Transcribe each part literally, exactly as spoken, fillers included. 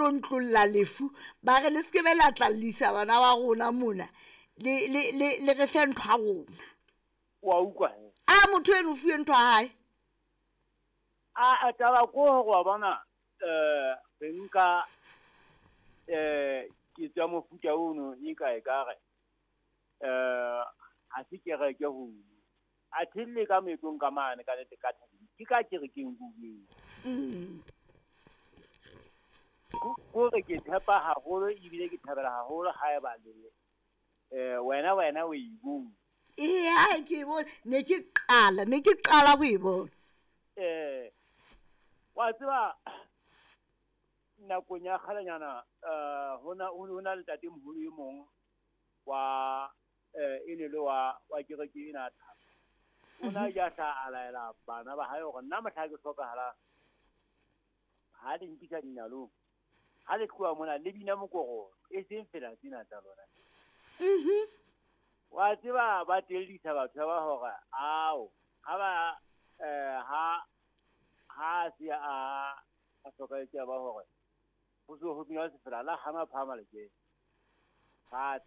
tlontlolla lefu ba re le se ke be la tlallisa bana ba rona mona le le le le re fe ntho ya rona. Wa utlwa he? A motho eno o fuwe ntho ya hae. A a taba ko hore wa bona eh re nka eh ke tswa mofuta ono e ka e ka re eh ha se kereke ho a thelle ka moetlong ka mane ka nete ka thabile ke ka kerekeng kueng. Mm. Ko re ke tshepa haholo ebile ke thabela haholo ha e ba le eh wena wena o e bone. Ee, ha ke e bone ne ke qala ne ke qala ho e bona. Eh wa tseba nakong ya kgalenyana eh hona ho na le ntate moholo e mong wa eh e ne le wa wa kereke ena thaba. O na ja tla a laela bana ba hae hore nna mohla ke hlokahala ha le nkisa dinalong ha le tloha mona le bina mokoro e seng fela tsena tsa lona. Mhm. Wa tseba ba tellisa batho ba hore ao ha ba eh ha ha se a a hlokahetse ba hore ho so ho bina sefela la hana phama le ke ha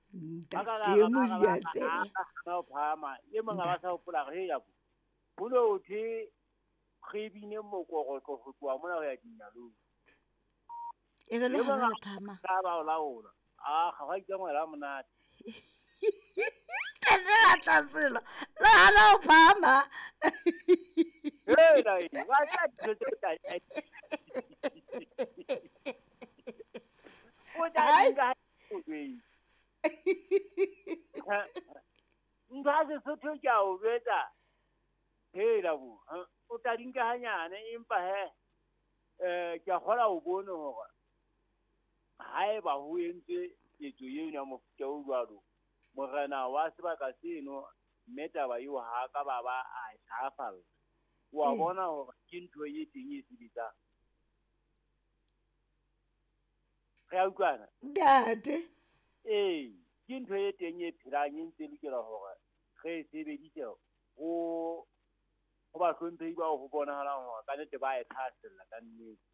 Ntate Modiantsebe. ha phama e mong ba sa hopola re ya bo ho thwe re bine mokoro ho tloha mona ho ya dinalong. E re le hana le phama. Ka ba o laola. A ga wa ikangwela monate. Ntate la tlaselo le hana ho phama. Hey, dai, wa tla dijo tse tla. O tla Ai. di o jwetse. Ntho ya Sesotho ke a o jwetsa. Hela bo, ha, o tla di nka hanyane empa he eh ke a kgola o bone hore haeba ho entswe ketso eno ya mofuta o jwalo, morena wa sebaka seno mme taba eo ha ka ba ba a e hlahafalla. Wa Ee. bona hore ke ntho e teng e sebetsang. Re a utlwana? Ntate. Ee, ke ntho e teng e phelang e ntse e lokela hore re e sebedise ho ho bahlomphehi bao ho bonahalang hore ka nnete ba e thahasella ka nnete.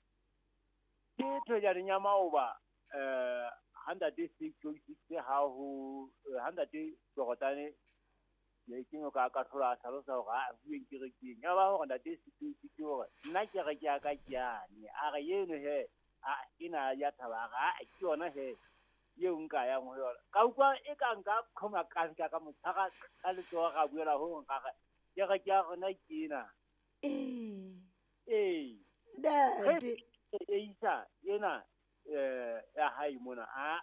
Ke thwejaneng ya maoba eh ha ntate six oh six ha ho ha ntate Jordan le ke no ka ka thola a hlalosa hore ha bueng kerekeng. Ya ba hore ntate six oh six hore nna kereke ya ka ke yane. A re eno he a ena ya thaba a re a ke yona he eo nka yang ho yona. Ka utlwa e ka nka qhoma ka nka ka mo tshwara ka letsoho ra buela ho nka re kereke ya rona ke ena. Ee. Ee. Ntate. E isa ena eh ya hae mona a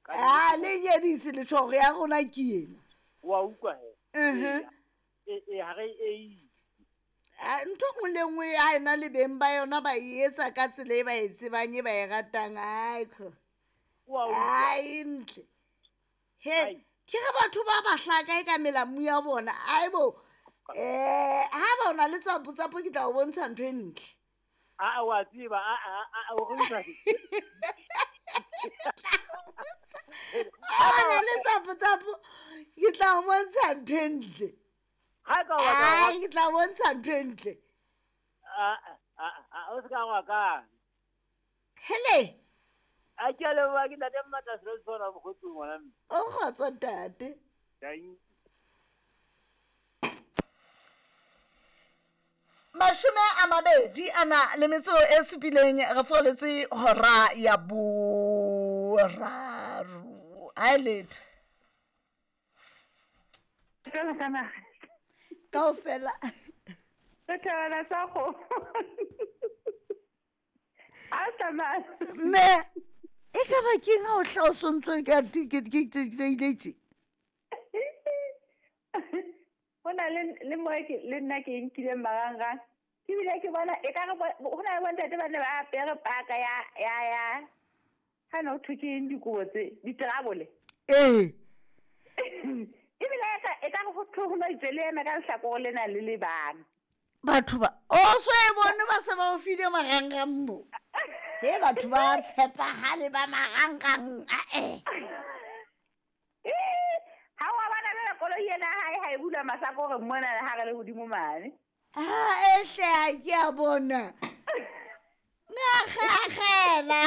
ka A le nyedise letshwao ya rona ke ena. Wa utlwa he. Mhm. E e ha re e A ntho e nngwe le nngwe ha ena le beng ba yona ba e etsa ka tsela e ba e tsebang e ba e ratang. Ai kho. Wa utlwa. Ai ntle. He, Ai. ke re batho ba ba hlaka e ka melamu ya bona. Ai bo. Eh, ha ba ona le tsapo tsapo ke tla o bontsha ntho e ntle. A a wa tseba a a a o re utlwa. Ha ba na le tsapo tsapo ke tla o bontsha ntho e ntle. Ha ka wa ka Ai, ke tla o bontsha ntho e ntle. a a a o se ka wa ka. Hele. A ke a leboha ke ntate Mmatla selo se sona mokgotsi ngwana mme. O kgotso ntate. Thank Mashome a mabedi a na le metso e supileng re foletse hora ya boraro. Ha e letho. Jwalo ka naha. Kaofela. Re thabela sa kgomo. A tsamaya. Mme e ka ba keng ha o hla o sontso ka ticket ke ke ke ile tje? Ho na le le mo ke le nna ke nkileng marangrang. Ke bile ke bona e ka re ho na le bontate ba ne ba apere paka ya ya ya. Ha no thwe ke eng dikobo tse diterabole. Ee. Ebile e ka e ka re ho thwe ho no itse le eme ka lehlakore lena le le bang. Batho ba o so e bone ba se ba o file marangrang mo. He batho ba tshepahale ba marangrang a eh. Ha wa bona le koloi ena hae ha e bula masako re mona le ha re le hodimo mane. Ah, e hle ha ke a bona. Ngakgakgela.